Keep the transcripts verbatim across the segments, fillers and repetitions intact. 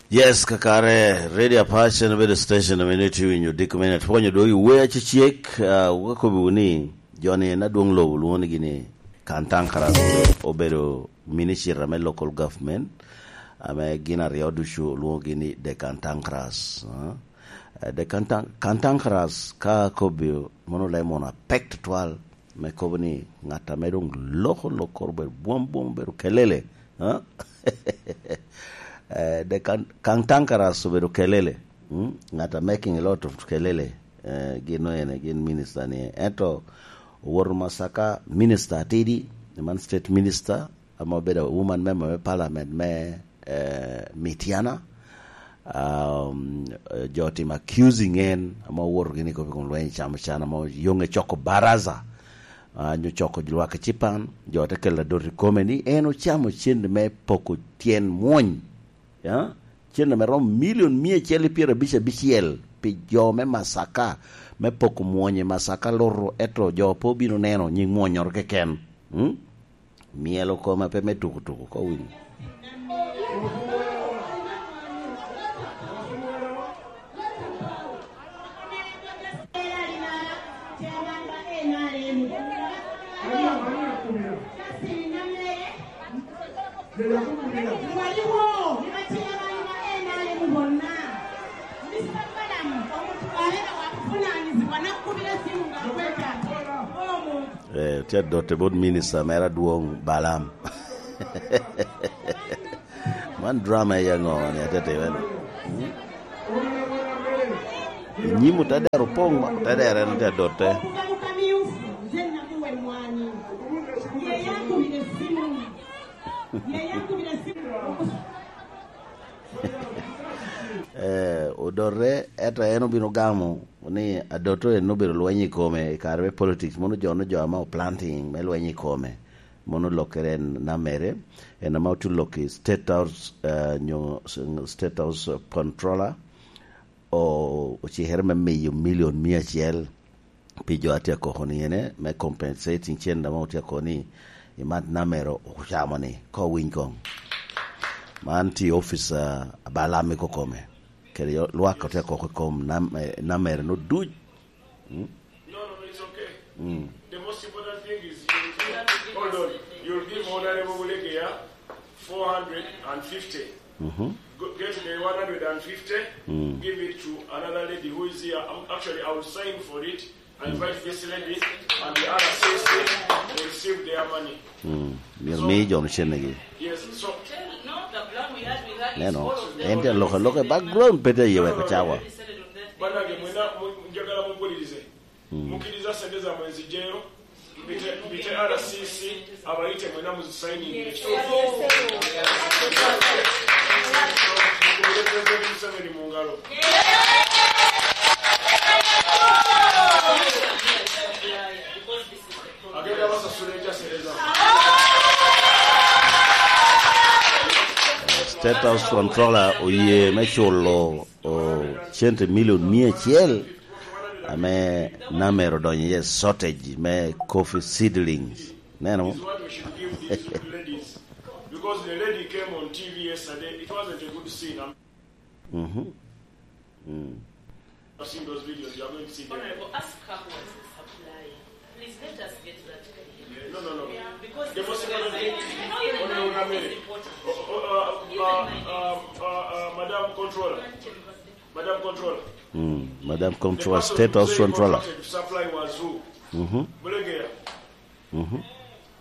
Yes, kakare, Radio Apac en obedo station ame nitye winyo diko me net. Pwonyo dwog i wer acecek, ah, wakobi wunu ni, jo-ni en adwoŋ lobo lwoŋo ni gini Kantankaras, obedo minister ame local government, ame gin aryo ducu olwoŋogi ni the Kantankaras, ah. Eh, the Kantan-, Kantankaras, ka akobi, mono leb mono apek tutwal, me kobo ni ŋat ame doŋ loko lok kor obedo bwom bwom, obedo kelele, ah? Eh, the Kan-, Kantankaras obedo kelele, mm? Ŋat a making a lot of kelele, eh, gin no ene, gin minister ni. Ento owoto Masaka, minister atidi, man state minister, ame obedo a woman member me parliament me, eh, Mityana. Um, eh, jo otimo accusing en, ame owoto gini kop i kom lweny i Camo Can, ame oyoŋe coko baraza, ah, nyo coko lwak ecipan, jo te kelo adot i kome ni en ocamo cente me poko tyen mwony. Ya? Cente me romo milion mia acel i pyerabicel abicel pi jo me Masaka, me poko mwony i Masaka Loto, eto jo pe obino neno nyiŋ mwonyoro keken. Mm? Myelo koma pe me tuku tuku, ko winyo. Eh, tye adotte bot minista mere adwoŋ Balaam. Man drama i aŋo ni atetebe ni? Hmm? Inyim otedero opoŋ, otedero en tye adotte. Eh, odotte, ento en obino gamo ni adotte en obedo lweny i kome i kare me politics, mono jo, jo ame oplanting me lweny i kome. Mono lokkere en namere, en ame otulo ki State House, eh, nyo s-, State House Controller, o-, ocikere me miyo milion mia acel pi jo a tye akoko ni ene, me compensating cen ame otye akoko ni imat namere ocamo ni, ko winy koŋ. Man tye office, eh, Balaam i kokome. Kede yo-, lwak otye akoko i kom nam-, eh, namere no duc. Mm? No, no, no, it's okay. Mm. The most important thing is you'll be, hold on, you'll give Honorable Bulegea four hundred and fifty. Mm-hmm. Go, get the one hundred and fifty, mm, give it to another lady who is here. Um, actually, I will sign for it. I invite this lady and the other sister to receive their money. Mm. Myero mi jo-nu cennegi. Yes, so neno, en tye alokaloka i background, pe tye aye weko cawa. Banange, mwena, mu-, njagala mumpulirize. Mm. Mukkiriza sente zammwe nzijeyo, mpite, mpite R C C, abayite mwena muzisayiningire. Mukubire President Museveni mu ngalo. Agenda basasula ekyasereza. State House Controller oye me culo, o, cente milion mia acel ame namere odonyo iye shortage me coffee seedlings. Neno? Is what we should give these ladies. Because the lady came on T V yesterday, it wasn't a good scene. Mhm. Mm. I've seen those videos, you are going to see them. Honorable, ask her who was the supplier. Please let us get that clear. Yeah, no, no, no. Yeah, because the most important thing, no, even Honorable Namere. Is important. Oh, oh, uh, even uh, my uh, uh, uh, Madam Controller. Madam Controller. Mm, Madam Controller, the person State House Controller. Contracted to supply was who? Mm-hmm. Bulegea. Mm-hmm.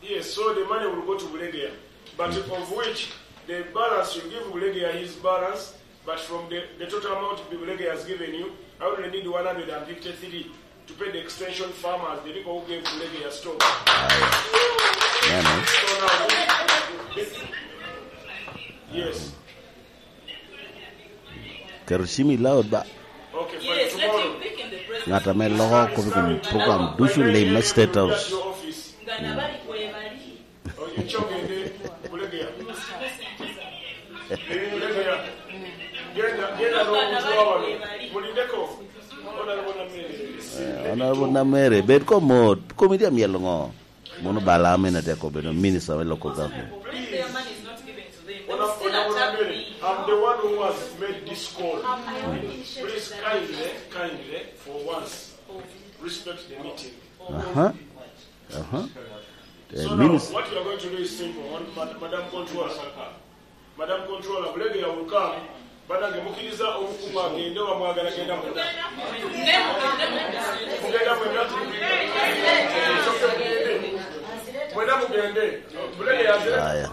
Yes, so the money will go to Bulegea, but of which the balance you give Bulegea his balance, but from the, the total amount Bulegea has given you, I only need one hundred and fifty-three to pay the extension farmers, the people who gave Bulegea stock. Neno. So now, yes. Keto cim i loud ba. Ŋat ame loko kop i kom program ducu lim me State House. Mm. Eh, Honorable Namere, bed ko mot, komi tye amyel ŋo? Mono Balaam en atye akobo, minister me local government. I'm the one who has made this call. Please kindly, kindly, for once, respect the meeting. Aha. Aha. So now, what you are going to do is simple. One, Mad- Madam Controller, Madam Controller, Bulegeya will come. Banange, mukkiriza omukumu agende, oba mwagala genda mwena. Mugenda mwena. Mwena mugende. Bulegeya azire. Aya.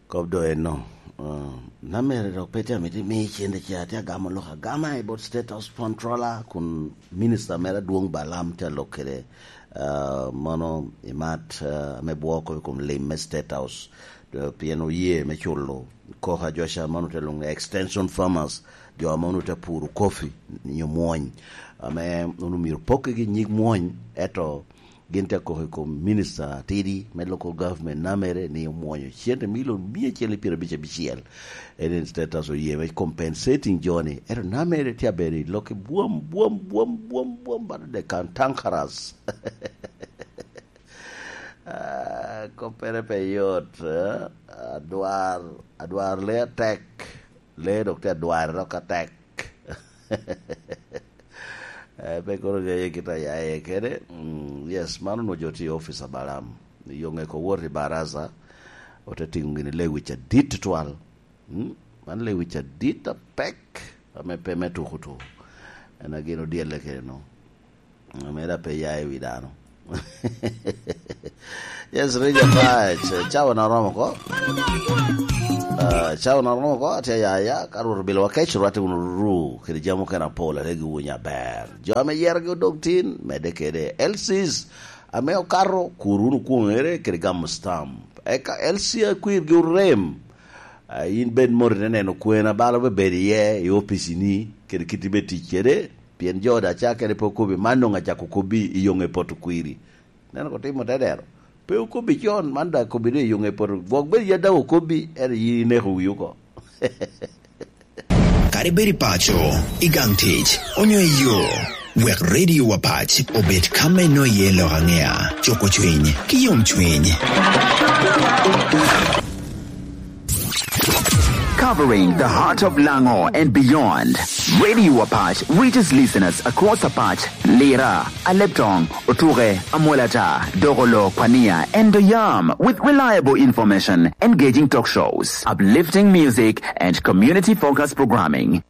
Kop doŋ eno. Uh, na mere dok pe tye amito imi cente ca, tye agamo lok agama i bot State House Controller, kun Minister mere adwoŋ Balaam tye alok kede, uh, mono imat, uh, ame bwoko i kom lim me State House. Uh, pien oye me culo koko a jo ca mono te lwoŋo ni extension farmers, jo mono te puro kopi nyo mwony, ame onwoŋo myero pokkigi nyig mwony, eto gin te koko i kom Minister atidi me local government namere ni omwonyo cente milion mia acel i pyerabic abicel. En en State House oye me compensating jo-ni. Ento namere tye abedo i lok i bwom, bwom, bwom, bwom, bwom, bad de kan tankaras. Ah, koppere pe yot, eh? Adwar, adwar lee atek. Lee dok tye adwarre dok atek. Eh, pe kono ŋeye kit a ya iye kede. Mm, yes, man onwoŋo jo tye i opic a Balaam. Yo ŋeko wot i baraza, ote tiŋo gini lewic adit tutwal. Mm, man lewic adit apek, ame pe me tuko tuko. En a gin odyelle kede no. Ame da pe ya i wi dano. Yes, Rija Pac, cawa na romo ko. Ah, cawa na romo ko, atye ya ya, ka Rwot obilo wa kec, rwatte wunu ruru, kede jami okene apol, ate gi wunya ber. Jo ame yerogi odog tin, medde kede. L Cs ame okato, kur wunu kwoŋere kede gamo stamp. Eka L C akwirgi orem. Ah, in bed mot ite neno kwena balo be bedo iye i opici-ni, kede kit ibe tic kede, pien jo da ca kede pe okobi, man doŋ acako kobbi i yoŋe poto kwiri. Neno ko timo te dero. Pe okobbi con, man da kobbi doŋ i yoŋe poto. Gwok bed ya daŋ okobbi, ento yin ineko wi oko. Kadi bed i paco, i gang tic, onyo i yo, wek Radio Wapac obed ka me no iye lok aŋea, cuko cwiny, ki yom cwiny. Covering the heart of Lango and beyond, Radio Wapac reaches listeners across Apac, Lira, Aleptong, Otuke, Amolata, Dogolo, Kwania, and Doyam with reliable information, engaging talk shows, uplifting music, and community-focused programming.